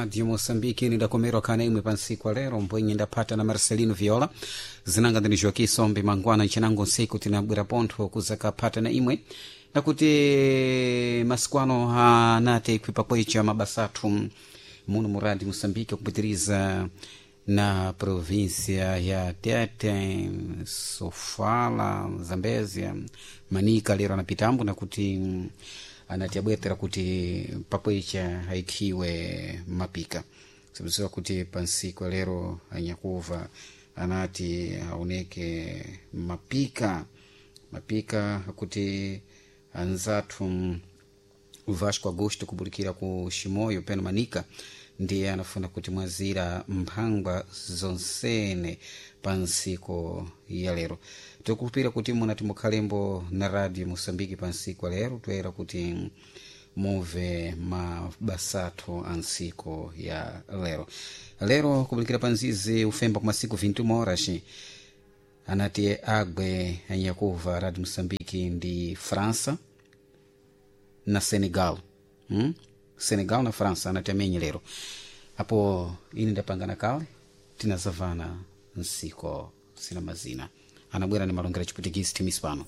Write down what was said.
Radio Moçambique. Nindakomerwa kana imwe pansiku lero mbwenye ndaphata na Marcelino Viola, zinanga ndini Joaquim Sombe mangwana nchinango nsiku tinabwera pontho kuzakaphata na imwe nakuti masiku ano anati ikhwipa kwecha mabasa athu muno mu Radio Moçambique kupitiriza na província ya Tete, Sofala, Zambezia, Manica lero anapitambo nakuti anati abwetera kuti pakwecha aikhiwe mapika sibziwa kuti pansiku lero anyakuva anati aoneke mapika mapika akuti anzathu Vasco Augusto kubulikira ku Chimoio peno Manica ndiye anafuna kuti mwazira mphangwa zonsene pa nsiku ya lero. Tikupira kuti munati mukhalembo na Radio Moçambique pa nsiku ya lero toyera kuti muve mabasathu a nsiku ya lero. Lero kubulikira pa nzizi ufemba ku masiku 21 horas anati agwe anyakuva Radio Moçambique ndi França na Senegal, Senegal na França anati amenye lero. Apo ine ndapangana kale tinazavana nsiko sina mazina anabwera ni malongera chiputikisi timis pano.